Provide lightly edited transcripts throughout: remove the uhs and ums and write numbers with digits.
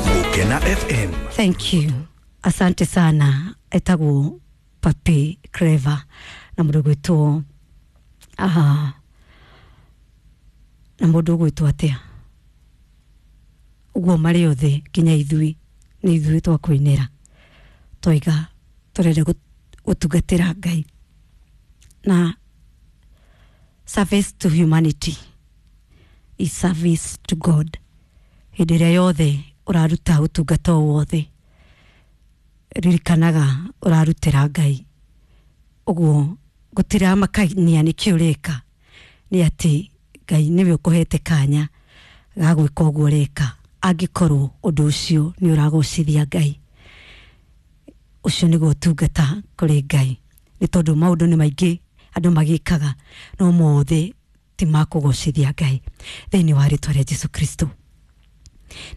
Gukena FM. Thank you, asante sana. Etagwo Papi Clever na mũndũ gwĩtwo aha na mũndũ gwĩtwo atĩa ũguo marĩ othe nginya ithuĩ nĩ ithuĩ twakũinĩra twaiga tũrenda gũtungatĩra Ngai na service to humanity is service to God. Hĩndĩ ĩrĩa yothe ũraruta ũtungata o wothe, ririkanaga ũrarutĩra Ngai. Ũguo gũtiramakania nĩkĩ ũreka, nĩ atĩ Ngai nĩwe ũkũhete kanya ga gwĩka ũguo ũreka, angĩkorwo ũndũ ũcio nĩ ũragocithia Ngai. Ũcio nĩguo ũtungata kũrĩ Ngai, nĩ tondũ maũndũ nĩ maingĩ andũ magĩkaga no mothe ti makũgocithia Ngai. Thĩinĩ wa rĩtwa rĩa Jesu Kristo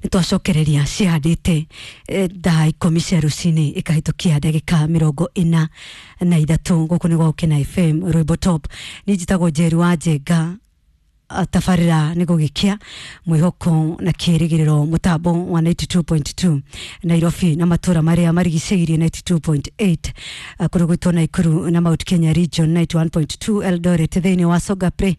nĩ twacokereria cihandĩte thaa 10 cia rũcinĩ ĩkahĩtũkia ndagĩka 43. Gũkũ nĩ gwa Gũkena FM Rwĩmbo Top. Niĩ njĩtagwo Njeri wa Njenga. Tabarĩra nĩ gũgĩkĩa mwĩhoko na kĩrĩgĩrĩro, mũtambo wa 92.2 Nairobi na matũra marĩa marigicĩirie, 92.8 kũrĩ gwĩtwo Naikuru na Mount Kenya region, 91.2 Eldoret, thĩinĩ wa Songa Play,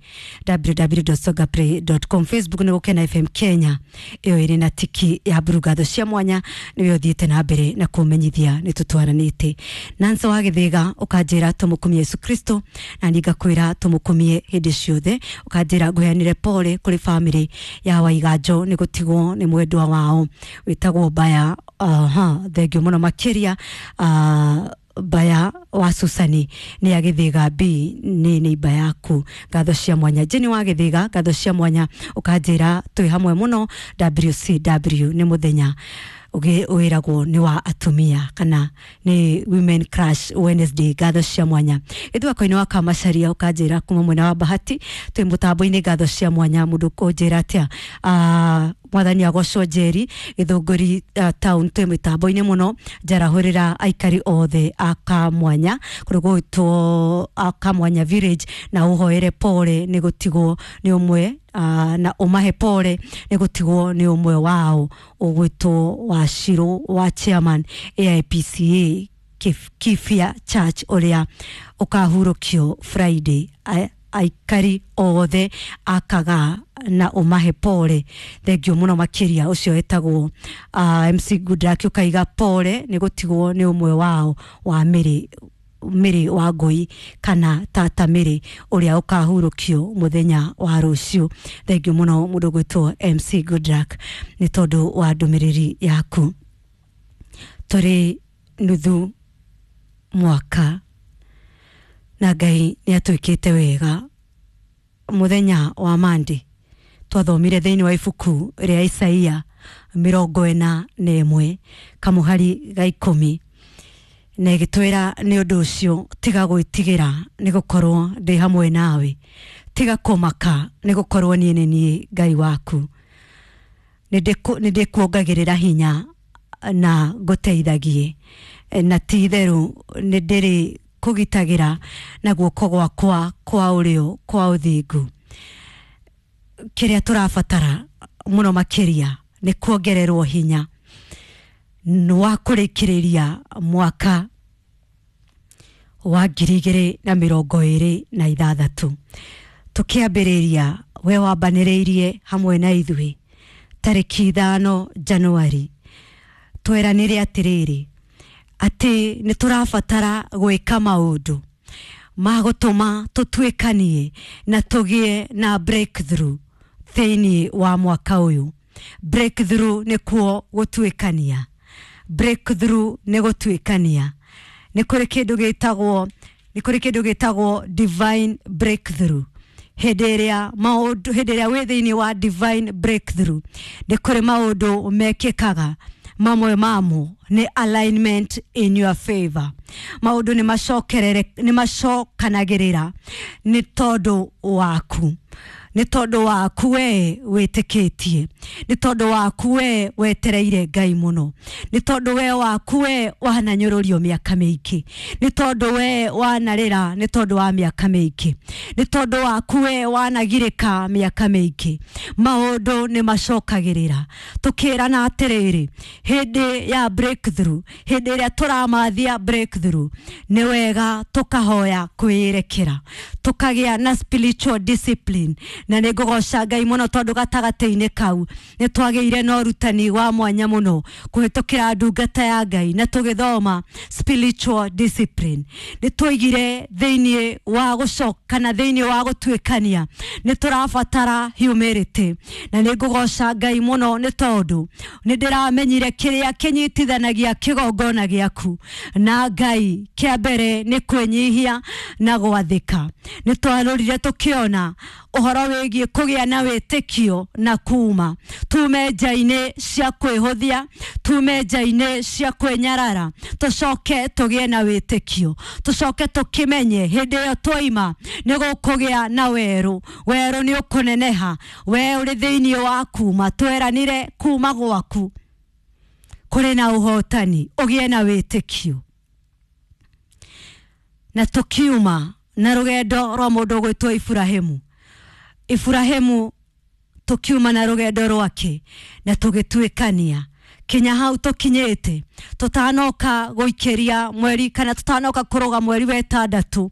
www.songaplay.com. Facebook nĩ Gũkena FM Kenya, ĩyo ĩrĩ na tiki ya mburu. Ngatho cia mwanya nĩwe ũthiĩte na mbere na kũmenyithia nĩ tũtwaranĩte. Nansa wa Gĩthĩga ũkanjĩra tũmũkumie Yesu Kristo, na niĩ ngakwĩra tũmũkumie hĩndĩ ciothe. Ũkanjĩra ngũheanire pole kũrĩ family ya Waiganjo nĩ gũtigwo nĩ mwendwa wao wĩtagwo Baya. Aha, thengio mũno makĩria. Baya wa Susani nĩ ya Gĩthĩga B nĩ neiba yaku. Ngatho cia mwanya. Jeni wa Gĩthĩga, ngatho cia mwanya. Ũkanjĩra twĩ hamwe mũno. WCW nĩ mũthenya wĩragwo nĩ wa atumia kana nĩ Women Crush Wednesday. Ngatho cia mwanya. Ithwako-inĩ wa Kamacaria ũkanjĩra kuma mwena wa Bahati twĩ mũtambo-inĩ. Ngatho cia mwanya. Mũndũ kũnjĩra atĩa? Mwathani agocwo. Njeri Gĩthũngũri town twĩ mĩtambo-inĩ mũno. Njarahũrĩra aikari othe a Kamwanya kũrĩ gwĩtwo a Kamwanya village na ũhoere pole nĩ gũtigwo nĩ ũmwe na ũmahe pole nĩ gũtigwo nĩ ũmwe wao ũgwĩtwo Wacirũ wa chairman AIPCA Kibia Church ũrĩa ũkahurũkio Friday. Aikari othe akaga na ũmahe pole. Thengio mũno makĩria. Ũcio etagwo MC Goodluck. Ũkaiga pole nĩ gũtigwo nĩ ũmwe wao wa Mĩrĩ, Mĩrĩ wa Ngũi kana Tata Mĩrĩ, ũrĩa ũkahurũkio mũthenya wa rũciũ. Thengio mũno mũndũ gwĩtwo MC Goodluck nĩ tondũ wa ndũmĩrĩri yaku. Tũrĩ nuthu mwaka na Ngai nĩ atwĩkĩte wega. Mũthenya wa Mandi twathomire thĩinĩ wa ibuku rĩa Isaia 41 kamũhari ga 10, na ĩgĩtwĩra, "Nĩ ũndũ ũcio tiga gwĩtigĩra, nĩ gũkorwo ndĩ hamwe nawe; tiga kũmaka, nĩ gũkorwo niĩ nĩ niĩ Ngai waku. Nĩ ndĩkuongagĩrĩra hinya na ngũteithagie, na ti itherũ nĩ ndĩrĩ kũgitagĩra na guoko gwakwa kwa ũrĩo kwa ũthingu." Kĩrĩa tũrabatara mũno makĩria nĩ kuongererwo hinya wa kũrĩkĩrĩria mwaka wa 2026. Tũkĩambĩrĩria, we wambanĩrĩirie hamwe na ithuĩ tarĩki 5 Januari, tweranire atĩrĩrĩ atĩ nĩ tũrabatara gwĩka maũndũ ma gũtũma tũtuĩkanie na tũgĩe na breakthrough thĩinĩ wa mwaka ũyũ. Breakthrough nĩ kuo gũtuĩkania, breakthrough nĩ gũtuĩkania. Nĩ kũrĩ kĩndũ gĩtagwo divine breakthrough. Hĩndĩ ĩrĩa maũndũ, hĩndĩ ĩrĩa wĩ thĩinĩ wa divine breakthrough, nĩ kũrĩ maũndũ mekĩkaga. Mamwe mamo nĩ alignment in your favor. Maũndũ nĩ macokerere, nĩ macokanagĩrĩra nĩ tondũ waku. Nĩ tondũ waku we wĩtĩkĩtie, nĩ tondũ waku we wetereire Ngai mũno, nĩ tondũ we waku we wananyũrũrio mĩaka mĩingĩ, nĩ tondũ we wanarĩra nĩ tondũ wa mĩaka mĩingĩ, nĩ tondũ waku we wanagirĩka mĩaka mĩingĩ. Maũndũ nĩ macokagĩrĩra. Tũkĩrana atĩrĩrĩ, hĩndĩ ya breakthrough, hĩndĩ ĩrĩa tũramathia breakthrough, nĩ wega tũkahoya kwĩyerekera, tũkagĩa na spiritual discipline. Na nĩ ngũgoca Ngai mũno tondũ gatagatĩ-inĩ kau nĩ twagĩire na ũrutani wa mwanya mũno kũhĩtũkĩra ndungata ya Ngai, na tũgĩthoma spiritual discipline. Nĩ twaigire thĩinĩ wa gũcoka kana thĩinĩ wa gũtuĩkania nĩ tũrabatara humility, na nĩ ngũgoca Ngai mũno nĩ tondũ nĩ ndĩramenyire kĩrĩa kĩnyitithanagia kĩgongona gĩaku na Ngai kĩa mbere nĩ kwĩnyihia na gwathĩka. Nĩ twarorire tũkĩona ũhoro wĩgiĩ kũgĩa na wĩtĩkio na kuma tume nja-inĩ cia kwĩhũthia, tume nja-inĩ cia kwĩnyarara, tũcoke tũgĩe na wĩtĩkio, tũcoke tũkĩmenye hĩndĩ ĩyo twaima nĩ gũkũgĩa na werũ. Werũ nĩ ũkũneneha, we ũrĩ thĩinĩ wa kuma, tweranire kuma gwaku kũrĩ na ũhotani, ũgĩe na wĩtĩkio. Na tũkiuma na rũgendo rwa mũndũ ũgwĩtwo Iburahĩmu. Iburahĩmu tũkiuma na rũgendo rwake na tũgĩtuĩkania kinya hau tũkinyĩte, tũtanoka gũikĩria mweri kana tũtanoka kũrũga mweri wa ĩtandatũ,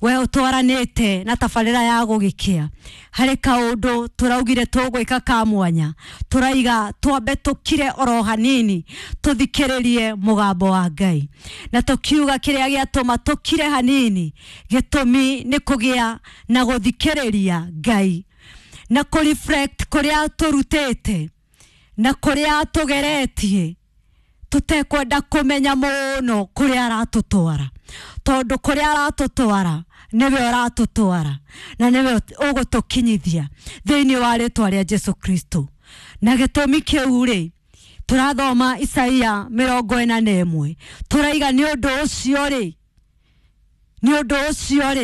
we ũtwaranĩte na tabarĩra ya gũgĩkĩa. Harĩ kaũndũ tũraugire tũgwĩka ka mwanya, tũraiga twambe tũkire oro hanini tũthikĩrĩrie mũgambo wa Ngai, na tũkiuga kĩrĩa gĩatũma tũkire hanini gĩtũmi nĩ kũgĩa na gũthikĩrĩria Ngai na kũreflect kũrĩa tũrutĩte na kũrĩa tũgeretie, tũtekwenda kũmenya mũno kũrĩa aratũtwara, tondũ kũrĩa aratũtwara nĩwe ũratũtwara na nĩwe ũgũtũkinyithia thĩinĩ wa rĩtwa rĩa Jesu Kristo. Na gĩtũmi kĩu rĩ, tũrathoma Isaia 41, tũraiga nĩ ũndũ ũcio rĩ, nĩ ũndũ ũcio rĩ